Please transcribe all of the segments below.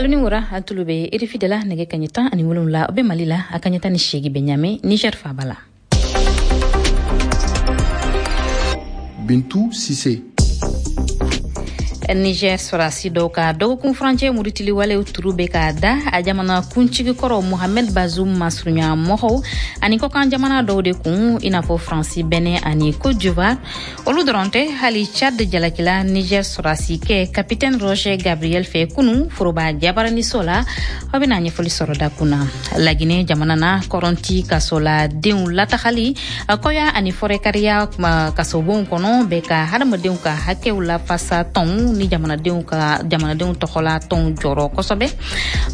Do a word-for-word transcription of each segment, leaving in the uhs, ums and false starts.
Alu ni wura, a tulu bɛ R F I de la nɛgɛ kaɲɛ tan ani wolonwula o bɛ Mali la, a kaɲɛ tan ni seegin bɛ Ɲame Niger faaba la. Bintu Sise. Niger sɔrɔdasi dɔw ka dɔgɔkun furancɛ murutili walew turu bɛ ka da a jamana kuntigi kɔrɔ Mohamed Bazoum masurunya mɔgɔw ani kɔkan jamana dɔw de kun, i n'a fɔ Faransi, Benin ani Côte d'Ivoire. Olu dɔrɔn tɛ, hali Tchad jalakila Niger sɔrɔdasi kɛ capitaine Roger Gabriel fɛ kunu foroba jabaraniso la. Aw bɛna ɲɛfɔli sɔrɔ dakun na. Laginɛ jamana na, kɔrɔnti kasoladenw latagali kɔya ani fɔrɛkariya kasobonw kɔnɔ bɛ ka hadamadenw ka hakɛw lafasa tɔnw ni jamanadenw ka jamanadenw tɔgɔla tɔnw jɔrɔ kosɛbɛ.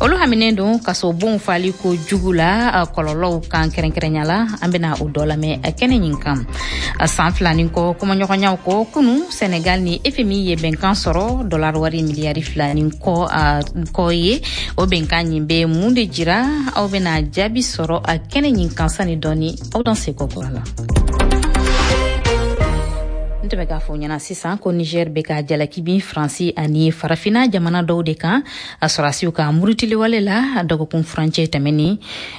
Olu haminen don kasobonw fali ko jugu la kɔlɔlɔw kan kɛrɛnkɛrɛnya la. An bɛna o dɔ lamɛn kɛnɛ ɲin kan. San fila ni kɔ kumaɲɔgɔnyaw kɔ kunu, Senegal ni F M I ye bɛnkan sɔrɔ dollar wari miliyari fila ni kɔ kɔ ye. O bɛnkan ɲin bɛ mun de jira? Aw bɛna jaabi sɔrɔ a kɛnɛ ɲin kan sani dɔɔni. Aw dan seko kura la. N tun bɛ k'a fɔ ɲɛna sisan ko Niger bɛ ka jalaki bin Faransi ani Farafina jamana dɔw de kan a sɔrɔdasiw ka murutiliwale la dɔgɔkun furancɛ tɛmɛnen.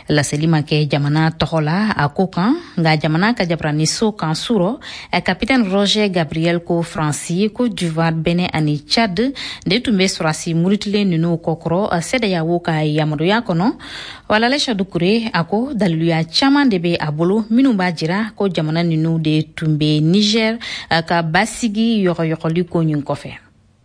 Laseli ma kɛ jamana tɔgɔ la a ko kan, nka jamana ka jabaraniso kan surɔ capitaine Roger Gabriel ko Faransi, Côte d'Ivoire, Benin ani Tchad de tun bɛ sɔrɔdasi murutilen ninnu kɔkɔrɔ CEDEAO ka yamaruya kɔnɔ. Walale Dukure a ko daliluya caman de bɛ a bolo minnu b'a jira ko jamana ninnu de tun bɛ Niger ka basigi yɔgɔyɔgɔli ko ɲin kɔfɛ.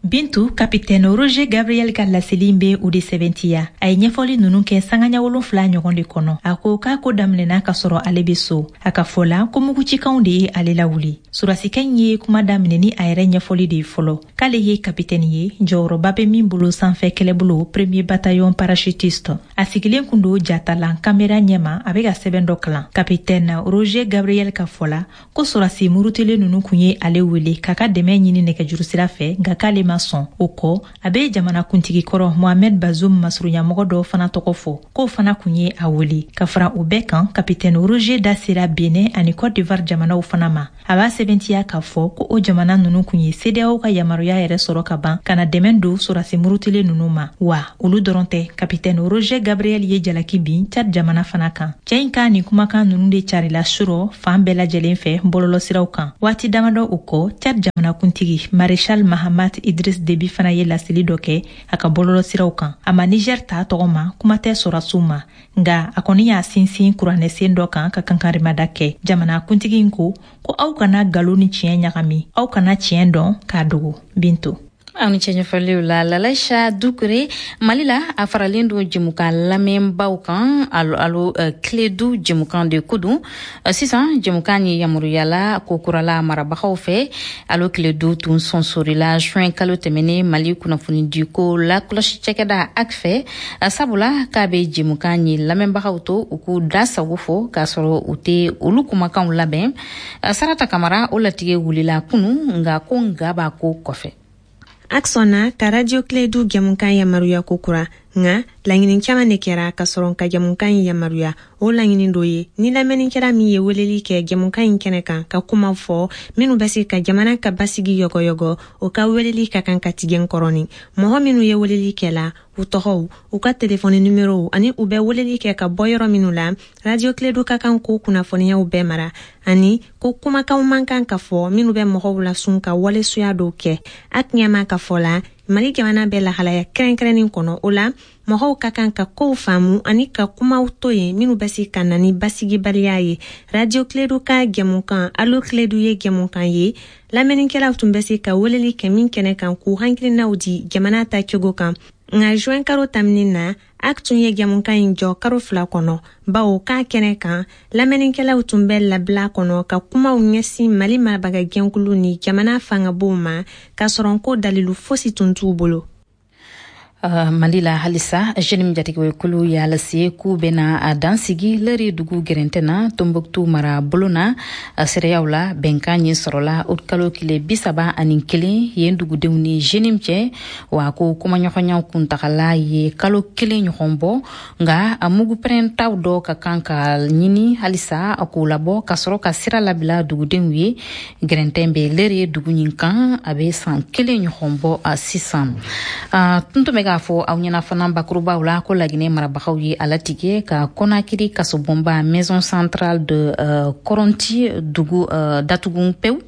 Bintu, capitaine Roger Gabriel ka laseli bɛ o de sɛbɛntiya. A ye ɲɛfɔli ninnu kɛ sangaɲa wolonfila ɲɔgɔn de kɔnɔ. A ko k'a ko daminɛna ka sɔrɔ ale bɛ so. A ka fɔ la ko mugucikanw de ye ale lawuli. Sɔrɔdasikɛ in ye kuma daminɛ ni a yɛrɛ ɲɛfɔli de ye fɔlɔ. K'ale ye capitaine ye, jɔyɔrɔba bɛ min bolo sanfɛ kɛlɛbolo premier bataillon parachutiste. A sigilen kun don jatalan kamera ɲɛma, a bɛ ka sɛbɛn dɔ kalan. Capitaine Roger Gabriel ka fɔ la ko sɔrɔdasi murutilen ninnu kun ye ale wele k'a ka dɛmɛ ɲini nɛgɛjuru sira fɛ, nka k'ale ma sɔn. O kɔ, a bɛ jamana kuntigi kɔrɔ Mohamed Bazoum masurunyamɔgɔ dɔw fana tɔgɔ fɔ, k'o fana kun ye a wele. Ka fara o bɛɛ kan, capitaine Roger da sera Benin ani Côte d'Ivoire jamanaw fana ma. A b'a sɛbɛntiya k'a fɔ ko o jamana ninnu kun ye CEDEAO ka yamaruya yɛrɛ sɔrɔ ka ban ka na dɛmɛ don sɔrɔdasi murutilen ninnu ma. Wa olu dɔrɔn tɛ, capitaine Roger Gabriel ye jalaki bin Tchad jamana fana kan. Cɛ in ka nin kumakan ninnu de carila surɔ fan bɛɛ lajɛlen fɛ bɔlɔlɔsiraw kan. Waati damadɔ o kɔ, Tchad jamana kuntigi Maréchal Mahamat Idriss Déby fana ye laseli dɔ kɛ a ka bɔlɔlɔsiraw kan. A ma Niger ta tɔgɔ ma, kuma tɛ sɔrɔdasiw ma, nka a kɔni y'a sinsin kuranɛsen dɔ kan ka kankarimada kɛ. Jamana kuntigi in ko ko aw kana nkalon ni tiɲɛ ɲagami, aw kana tiɲɛ dɔn k'a dogo. Bintu. Aw ni cɛ ɲɛfɔliw la Lalaïcha Dukure. Mali la, a faralen don jɛmukan lamɛnbaw kan alo alo Kledu jɛmukan de ko don. Sisan jɛmukan ye yamaruyala ko kurala marabagaw fɛ. Alo Kledu tun sɔnsorila juin kalo tɛmɛnen Mali kunnafonidiko lakɔlɔsi cakɛda A C F fɛ, sabula k'a bɛ jɛmukan ye lamɛnbagaw to u k'u da sago fɔ k'a sɔrɔ u tɛ olu kumakanw labɛn. Sarata Kamara o latigɛ wulila kunu, nka ko nka b'a ko kɔfɛ. A C sɔnna ka Radio Kledu jɛmukan yamaruya ko kura, nka laɲini caman de kɛra ka sɔrɔ ka jɛmukan in yamaruya. O laɲini dɔ ye ni lamɛnnikɛla min ye weleli kɛ jɛmukan in kɛnɛ kan ka kuma fɔ minnu bɛ se ka jamana ka basigi yɔgɔyɔgɔ, o ka weleli ka kan ka tigɛ kɔrɔni. Mɔgɔ minnu ye weleli kɛ la, u tɔgɔw, u ka telefɔni numérow ani u bɛ weleli kɛ ka bɔ yɔrɔ minnu la, Radio Kledu ka kan k'o kunnafoniyaw bɛɛ mara, ani ko kumakanw man kan ka fɔ minnu bɛ mɔgɔw lasun ka walesuya dɔw kɛ. A ɲɛma ka fɔ la, Mali jamana bɛ lahalaya kɛrɛnkɛrɛnnen kɔnɔ, o la mɔgɔw ka kan ka kow faamu ani ka kumaw to yen minnu bɛ se ka na ni basigibaliya ye. Radio Kledu ka jɛmukan Alo Kledu ye jɛmukan ye lamɛnnikɛlaw tun bɛ se ka weleli kɛ min kɛnɛ kan k'u hakilinaw di jamana ta cogo kan. Nka juin kalo tɛmɛnen na, A C tun ye jɛmukan in jɔ karo fila kɔnɔ, bawo k'a kɛnɛ kan lamɛnnikɛlaw tun bɛ labila kɔnɔ ka kumaw ɲɛsin Mali marabagajɛkulu ni jamana fangabow ma, k'a sɔrɔ ko dalilu fosi tun t'u bolo. Uh, Mali la halisa, JNIM jatigɛwɛkulu y'a lase k'u bɛna a dansigi lɛri dugu gɛrɛntɛ na Tombouctou mara bolo na. Seereyaw la, bɛnkan ɲin sɔrɔla o kalo tile bi saba ani kelen yen dugudenw ni JNIM cɛ. Wa ko kumaɲɔgɔnyaw kuntagala ye kalo kelen ɲɔgɔn bɔ, nka a mugu pɛrɛntaw dɔ ka kan ka ɲini halisa k'o labɔ ka sɔrɔ ka sira labila dugudenw ye. Gɛrɛntɛ bɛ lɛri dugu ɲin kan, a bɛ san kelen ɲɔgɔn bɔ sisan. Tun tun bɛ K'a fɔ aw ɲɛna fana bakurubaw la ko Laginɛ marabagaw ye a latigɛ ka Kɔnakiri kasobonba Maison centrale de uh, Kɔrɔnti dugu uh, datugu pewu.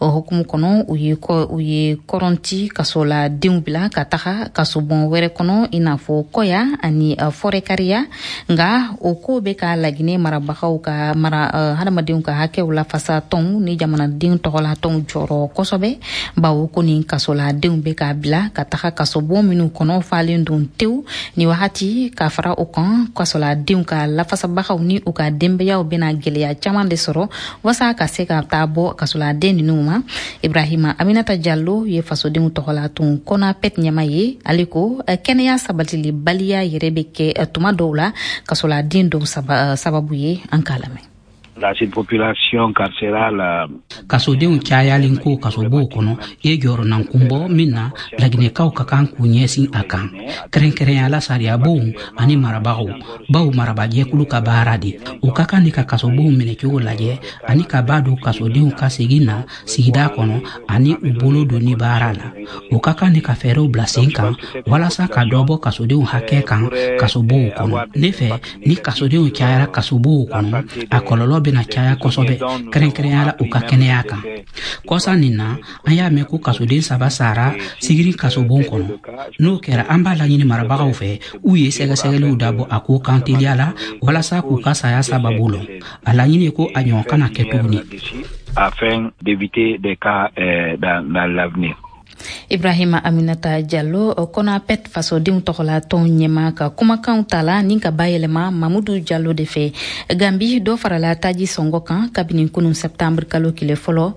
O hukumu kɔnɔ, u ye u ye Kɔrɔnti kasoladenw bila ka taga kasobon wɛrɛ kɔnɔ, i n'a fɔ Kɔya ani uh, Fɔrɛkariya. Nga o ko bɛ ka Laginɛ marabagaw ka mara uh, hadamadenw ka hakɛw lafasa tɔnw ni jamanaden tɔgɔla tɔnw jɔrɔ kosɛbɛ, bawo ko nin kasoladenw bɛ ka bila ka taga kasobon minnu kɔnɔ falen don tewu ni wagati. Ka fara o kan, kasoladenw ka lafasabagaw ni u ka denbayaw bɛna gwɛlɛya caman de sɔrɔ wasa ka se ka taa bɔ kasoladen ninnu ma. Ibrahima Aminata Jalo ye fasodenw tɔgɔla tun CONAPED ɲɛma ye. Ale ko kɛnɛya sabatili baliya yɛrɛ bɛ kɛ tuma dɔw la kasoladen dɔw sababu ye. An k'a lamɛn. La surpopulation carcérale. Kasodenw cayalen ko kasobow kɔnɔ ye jɔrɔnan kunbɔ min na, Laginɛkaw ka kan k'u ɲɛsin a kan, kɛrɛnkɛrɛnyala sariyabonw ani marabagaw, baw marabajɛkulu ka baara de u ka kan ni ka kasobow minɛcogo lajɛ ani ka b'a don kasodenw ka segin na sigida kɔnɔ ani u bolo donni baara la. U ka kan ni ka fɛɛrɛw bila sen kan walasa ka dɔ bɔ kasodenw hakɛ kan kasobow kɔnɔ. Ne fɛ, ni kasodenw cayara kasobow kɔnɔ, a kɔlɔlɔ bɛna caya kosɛbɛ, kɛrɛnkɛrɛnyala u ka kɛnɛya kan. Kɔsa nin na, an y'a mɛn ko kasoden saba sara Sigiri kasobon kɔnɔ. N'o kɛra, an b'a laɲini marabagaw fɛ u ye sɛgɛsɛgɛliw dabɔ a ko kan teliya la walasa k'u ka saya sababu lɔn. A laɲini ko a ɲɔgɔn kana kɛ tuguni. Afin d'éviter des cas euh, dans, dans l'avenir. Ibrahima Aminata Jalo, CONAPED fasodenw tɔgɔla tɔn ɲɛma ka kumakanw tala ni ka bayɛlɛma Mamudu Jalo de fɛ. Gambi, dɔ farala taji sɔngɔ kan kabini kunun septembre kalo kile fɔlɔ.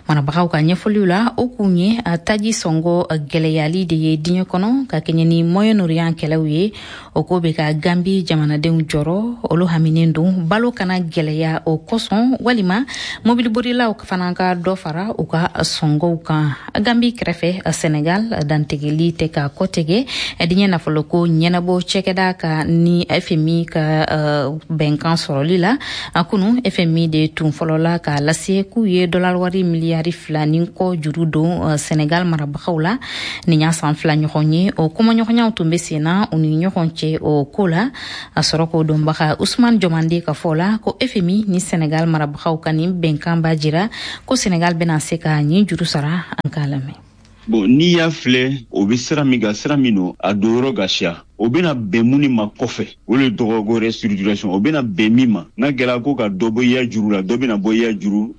Marabagaw ka ɲɛfɔliw la, o kun ye taji sɔngɔ gwɛlɛyali de ye diɲɛ kɔnɔ ka kɛɲɛ ni Moyen-Orient kɛlɛw ye. O ko bɛ ka Gambi jamanadenw jɔrɔ. Olu haminen don balo kana gwɛlɛya o kosɔn, walima mobiliborilaw fana ka dɔ fara u ka sɔngɔw kan. Gambi kɛrɛfɛ, Senegal, dantigɛli tɛ ka kɔtigɛ diɲɛ nafoloko ɲɛnabɔ cɛkɛda ka ni F M I ka uh, bɛnkan sɔrɔli la. Kunu, F M I de tun fɔlɔla k'a lase k'u ye dollar wari miliyari fila ni kɔ juru don uh, Senegal marabagaw la. Nin y'a san fila ɲɔgɔn ye o kumaɲɔgɔnyaw tun bɛ sen na u ni ɲɔgɔn cɛ o ko la. A sɔrɔ k'o dɔnbaga Usman Jɔmande ka fɔ la ko F M I ni Senegal marabagaw ka nin bɛnkan b'a jira ko Senegal bɛna se ka nin juru sara. An k'a lamɛn. Bon, n'i y'a filɛ, o bɛ sira min kan, sira min don, a don yɔrɔ ka siya, o bɛna bɛn mun ma kɔfɛ, o de tɔgɔ ko restructuration. O bɛna bɛn min ma, n'a kɛra ko ka dɔ bɔ i ya juru la, dɔ bɛna bɔ i ya juru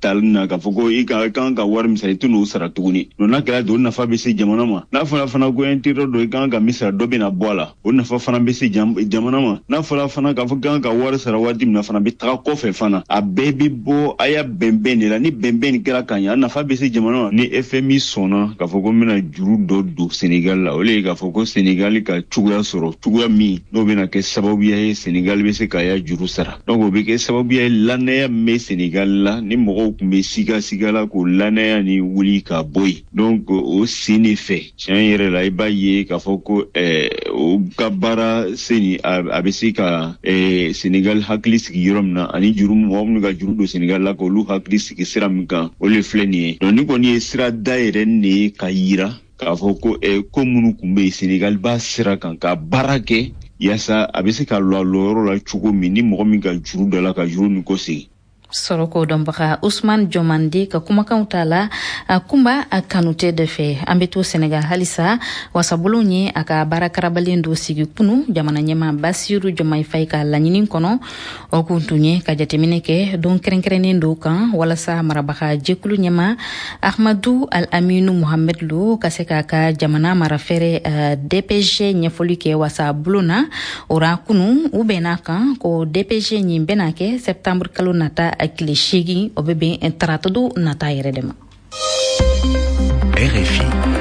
tali na k'a fɔ ko i ka kan ka wari min sara, i tɛ n'o sara tuguni. Donc n'a kɛra ten, o nafa bɛ se jamana ma. N'a fɔra fana ko intérêt dɔ i kan ka min sara, dɔ bɛna bɔ a la, o nafa fana bɛ se jamana ma. N'a fɔra fana k'a fɔ kan ka wari sara waati min na fana bɛ taga kɔfɛ fana, a bɛɛ bɛ bɔ a y'a bɛnbɛn de la. Ni bɛnbɛn nin kɛra ka ɲɛ, a nafa bɛ se jamana ma. Ni F M I sɔnna k'a fɔ ko n bɛna juru dɔ don Senegal la, o de ye k'a fɔ ko Senegal ka cogoya sɔrɔ, cogoya min n'o bɛna kɛ sababuya ye Senegal bɛ se k'a ya juru sara. Donc o bɛ kɛ sababuya ye, lanaya min bɛ Senegal la, ni mɔgɔw tun bɛ siga siga la, k'o lanaya ni wuli ka bɔ yen. Donc o sen de fɛ, tiɲɛ yɛrɛ la, i b'a ye k'a fɔ ko ɛɛ o ka baara sen nin, a bɛ se ka ɛɛ Senegal hakili sigi yɔrɔ min na, ani juru mɔgɔ minnu ka juru don Senegal la, k'olu hakili sigi sira min kan, o de filɛ nin ye. Donc ni kɔni ye sira dayɛlɛ nin ye ka yira k'a fɔ ko ɛ ko minnu tun bɛ yen, Senegal b'a sira kan ka baara kɛ yaasa a bɛ se ka lɔ a lɔyɔrɔ la cogo min, ni mɔgɔ min ka juru dɔ la, ka juru nin kɔsegin. Sɔrɔ k'o dɔnbaga Usman Jɔmande ka kumakanw ta la Kunba Kanute de fɛ. An be to Senegal halisa. Wasabulon ye a ka baara karabalen dɔ sigi kunu jamana ɲɛma Basiru Jɔmai Fay ka laɲini kɔnɔ. O kun tun ye ka jateminɛ kɛ don kɛrɛnkɛrɛnnen dɔw kan walasa marabaga jɛkulu ɲɛma Ahmadu Al Aminu Muhamed Lo ka se k'a ka jamana marafɛrɛ D P G ɲɛfɔli kɛ wasabulon na. O ra kunu, u bɛnna kan ko D P G ɲin bɛna kɛ septembre kalo nata tile seegin, o bɛ bɛn taratado nata yɛrɛ de ma. R F I.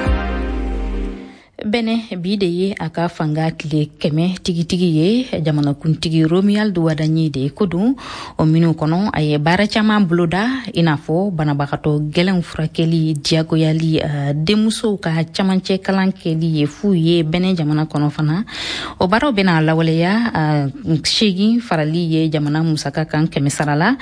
Bɛnɛ, bi de ye a ka fanga tile kɛmɛ tigitigi ye. Jamanakuntigi Romuald Wadagni de ko don. O minnu kɔnɔ, a ye baara caman boloda, i n'a fɔ banabagatɔ gwɛlɛnw furakɛli diyagoyali, denmusow ka camancɛ kalan kɛli ye fu ye Bɛnɛ jamana kɔnɔ fana. O baaraw bɛna lawaleya seegin farali ye jamana musaka kan kɛmɛ sara la.